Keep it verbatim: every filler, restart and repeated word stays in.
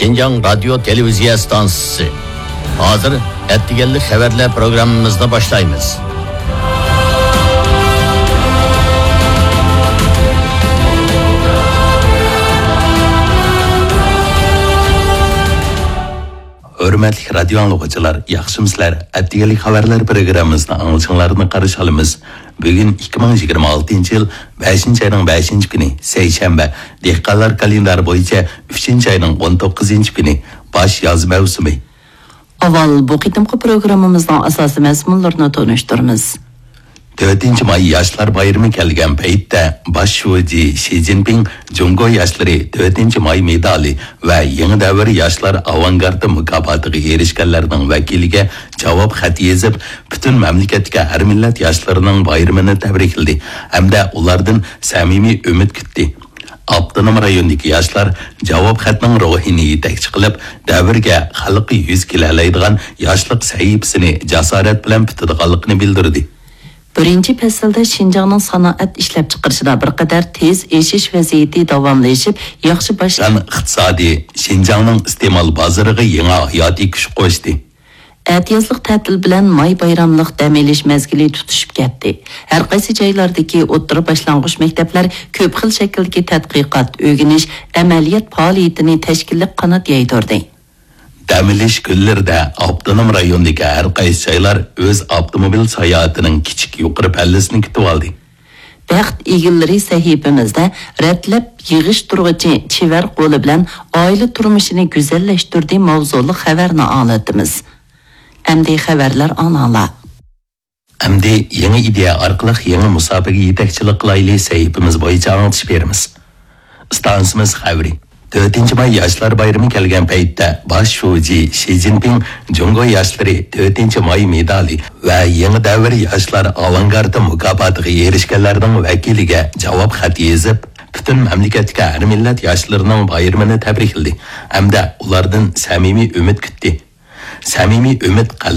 شىنجاڭ رادىيو تېلېۋىزىيە ئىستانسىسى. ھازىر ئەتىگەنلىك خەۋەرلەر پروگراممىمىزنى باشلايمىز. ھۆرمەتلىك رادىيو ئاڭلىغۇچىلار، ياخشىمۇسىلەر؟ ئەتىگەنلىك خەۋەرلەر پروگراممىمىزنى ئاڭلىشىڭلارنى قارشى ئالىمىز. بۈگۈن ئىككى مىڭ يىگىرمە ئالتىنچى يىل بەشىنچى ئاينىڭ بەشىنچى كۈنى، سەيشەنبە، دېھقانلار كالېندارى بويىچە ئۈچىنچى ئاينىڭ ئون توققۇزىنچى كۈنى، باش ياز مەۋسۇمى. ئاۋۋال بۇ قېتىمقى پروگراممىمىزنىڭ ئاساسىي مەزمۇنلىرىنى تونۇشتۇرىمىز. تۆتىنچى ماي ياشلار بايرىمى كەلگەن پەيتتە، باش شۇجى شى جىنپىڭ جۇڭگو ياشلىرى تۆتىنچى ماي مېدالى ۋە يېڭى دەۋر ياشلار ئاۋانگارتى مۇكاپاتىغا ئېرىشكەنلەرنىڭ ۋەكىلىگە جاۋاب خەت يېزىپ، پۈتۈن مەملىكەتتىكى ھەر مىللەت ياشلىرىنىڭ بايرىمىنى تەبرىكلىدى ھەمدە ئۇلاردىن سەمىمىي ئۈمىد كۈتتى. ئاپتونوم رايوندىكى ياشلار جاۋاب خەتنىڭ روھىنى يېتەكچى قىلىپ، دەۋرگە، خەلققە يۈز كېلەلەيدىغان ياشلىق سەھىپىسىنى جاسارەت بىلەن پۈتىدىغانلىقىنى بىلدۈردى. بىرىنچى پەسىلدە شىنجاڭنىڭ سانائەت ئىشلەپچىقىرىشىدا بىر قەدەر تېز ئېشىش ۋەزىيىتى داۋاملىشىپ، ياخشى باش ئىقتىسادى شىنجاڭنىڭ ئىستېمال بازىرىغا يېڭى ھاياتىي كۈچ قوشتى. ئەتىيازلىق تەتىل بىلەن ماي بايراملىق دەم ئېلىش مەزگىلى تۇتىشىپ كەتتى. ھەر قايسى جايلاردىكى ئوتتۇرا باشلانغۇچ مەكتەپلەر كۆپ خىل شەكىلدىكى تەتقىقات، ئۆگىنىش، ئەمەلىيەت پائالىيىتىنى تەشكىللەپ قانات يايدۇردى. دەم ئېلىش كۈنلىرىدە ئاپتونوم رايوندىكى ھەر قايسى جايلار ئۆز ئاپتوموبىل ساياھىتىنىڭ كىچىك يۇقىرى پەللىسىنى كۈتۈۋالدى. بەخت ئىگىلىرى سەھىپىمىزدە رەتلەپ يىغىشتۇرغۇچى چېۋەر قولى بىلەن ئائىلە تۇرمۇشىنى گۈزەللەشتۈردى ماۋزۇلۇق خەۋەرنى ئاڭلىتىمىز. ئەمدى خەۋەرلەر ئاڭلاڭلار. ئەمدى يېڭى ئىدىيە ئارقىلىق يېڭى مۇساپىگە يېتەكچىلىك قىلايلى سەھىپىمىز بويىچە ئاڭلىتىش بېرىمىز. ئىستانسىمىز خەۋىرى. تۆتىنچى ماي ياشلار بايرىمى كەلگەن پەيتتە، باش شۇجى شى جىنپىڭ جۇڭگو ياشلىرى تۆتىنچى ماي مېدالى ۋە يېڭى دەۋر ياشلار ئاۋانگارتى مۇكاپاتىغا ئېرىشكەنلەرنىڭ ۋەكىلىگە جاۋاب خەت يېزىپ، پۈتۈن مەملىكەتتىكى ھەر مىللەت ياشلىرىنىڭ بايرىمىنى تەبرىكلىدى ھەمدە ئۇلاردىن سەمىمىي ئۈمىد كۈتتى. سەمىمىي ئۈمىد